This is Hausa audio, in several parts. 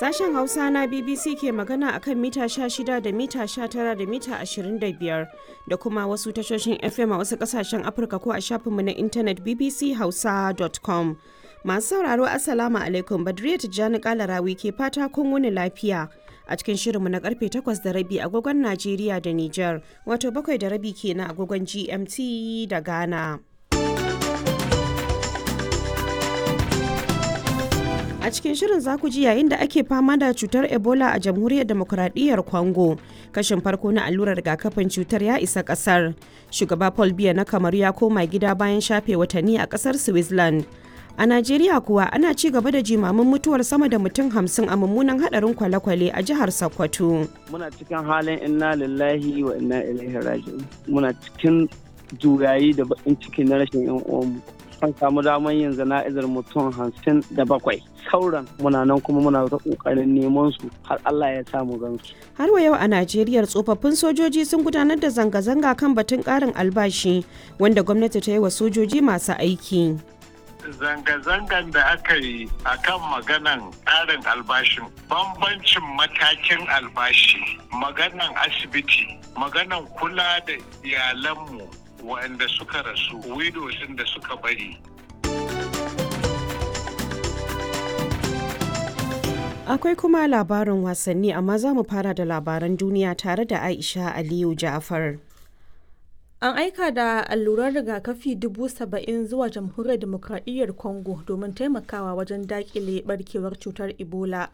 Sashen Hausa na BBC ke magana akan mita 16 da mita 19 da mita 25 da kuma wasu tashoshin FM a wasu kasashen Afirka ko a shafinmu na intanet bbchausa.com. Masu sauraro, Assalamu alaikum, Badriya Tijjani Kalarawi ke fata kun wuni lafiya. A cikin shirinmu na karfe 8:30 agogon Najeriya da Nijar, wato 7:30 kenan agogon GMT da Ghana. A cikin shirin za ku ji yayin da ake fama da cutar Ebola a Jamhuriyar Demokuraɗiyyar Congo. Kashin farko na allurar rigakafin cutar ya isa ƙasar. Shugaba Paul Biya na Kamaru ya koma gida bayan shafe watanni a ƙasar Switzerland. A Najeriya kuwa ana ci gaba da jimamin mutuwar sama da mutum 50 a mummunan hadarin kwale-kwale a jihar Sokoto. Muna cikin halin inna lillahi wa inna ilaihi raji'un. Muna cikin juyayi da baƙin ciki na rashin 'yan uwanmu. An samu damar yin zana'izar mutum 57, sauran muna nan kuma muna ta kokarin neman su har Allah ya samu gansu. Har wa yau a Najeriya, tsofaffin sojoji sun gudanar da zanga-zanga kan batun karin albashi wanda gwamnati ta yi wa sojoji masu aiki. Zanga-zangan da aka yi a kan maganan ƙarin albashin, bambancin matakin albashi, maganan asibiti, maganan kula da iyalanmu waɗanda suka rasu, widows da suka bari. Akwai kuma labarin wasanni, amma za mu fara da labaran duniya tare da Aisha Aliyu Ja'far. An aika da alluran rigakafi 70,000 zuwa Jamhuriyar Dimokradiyyar Congo domin taimakawa wajen dakile barkewar cutar Ebola.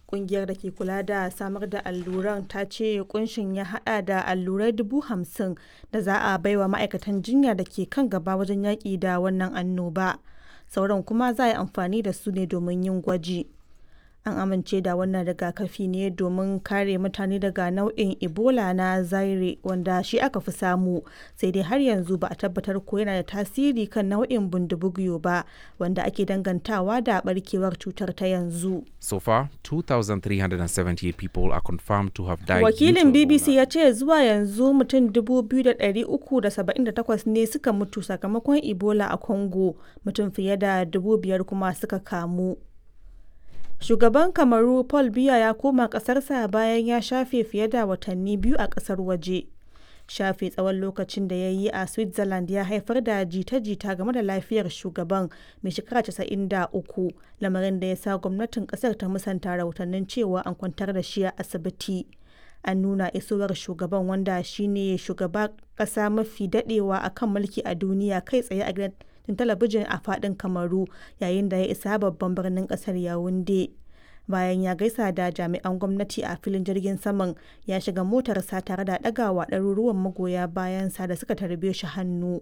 Kungiyar da ke kula da samar da alluran ta ce kunshin ya hada da allurai 50,000 da za a baiwa ma'aikatan jinya da ke kan gaba wajen yaƙi da wannan annoba. Sauran kuma za a yi amfani da su ne domin yin gwaji. An amince da wannan rigakafi ne domin kare mutane daga nau'in Ebola na Zaire, wanda shi aka fi samu, sai dai har yanzu ba a tabbatar ko yana da tasiri kan nau'in Bundibugyo ba, wanda ake dangantawa da barkewar cutar ta yanzu. So far, 2,378 people are confirmed to have died. Wakilin BBC ya ce zuwa yanzu mutum 2,378 ne suka mutu sakamakon Ebola a Congo, mutum fiye da 5,000 kuma suka kamu. Shugaban Kamaru Paul Biya ya koma ƙasarsa bayan ya shafe fiye da watanni 2 a ƙasar waje. Shafe tsawon lokacin da ya yi a Switzerland ya haifar da jita-jita game da lafiyar shugaban mai shekara 93, lamarin da ya sa gwamnatin ƙasar ta musanta rahotannin cewa an kwantar da shi a asibiti. An nuna isowar shugaban, wanda shine shugaba ƙasa mafi daɗewa akan mulki a duniya, kai tsaye a gidan talabijin a fadin Kamaru yayin da ya isa babban birnin kasar Yawunde. Bayan ya gaisa da jami'an gwamnati a filin jirgin saman, ya shiga motarsa tare da ɗagawa ɗaruruwan magoya bayansa da suka tarbe shi hannu.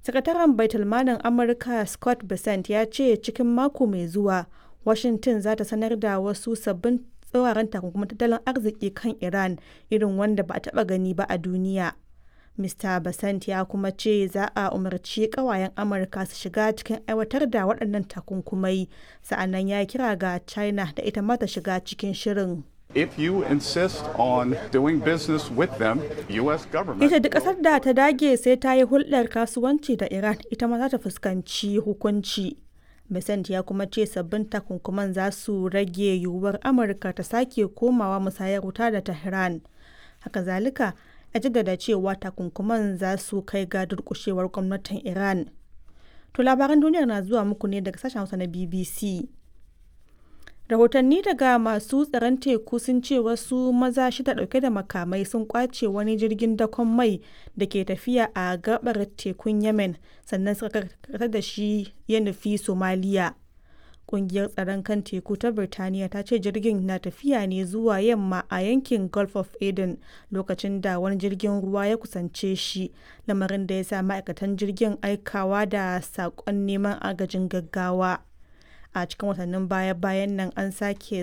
Sakataren Baitulmalin Amurka Scott Bessent ya ce cikin mako mai zuwa Washington za ta sanar da wasu sabbin tsauraran takunkumin tattalin arziki kan Iran, irin wanda ba a taɓa gani ba a duniya. Mr. Basant ya kuma ce za a umarci kawayen Amurka su shiga cikin aiwatar da waɗannan takunkumai, sa'annan ya kira ga China da ita ma ta shiga cikin shirin. If you insist on doing business with them, U.S. government. Ita duk ƙasar da ta dage sai ta yi hulɗar kasuwanci da Iran, ita ma za ta fuskanci hukunci. Besant ya kuma ce sabbin takunkuman za su rage yiwuwar Amurka ta sake komawa musayar wuta da Tehran. Haka zalika, ya jaddada cewa takunkuman za su kai ga durkushewar gwamnatin Iran. To, labaran duniyar na zuwa muku ne daga sashen Hausa na BBC. Rahotanni daga masu tsaron teku sun ce wasu maza shida dauke da makamai sun kwace wani jirgin dakon mai da ke tafiya a gabar tekun Yemen, sannan suka karkatar da shi ya nufi Somaliya. Kungiyar tsaron kan teku ta Birtaniya ta ce jirgin na tafiya ne zuwa yamma a yankin Gulf of Aden lokacin da wani jirgin ruwa ya kusance shi, lamarin da ya sa ma'aikatan jirgin aikawa da saƙon neman agajin gaggawa. A cikin watannin baya-bayan nan an sake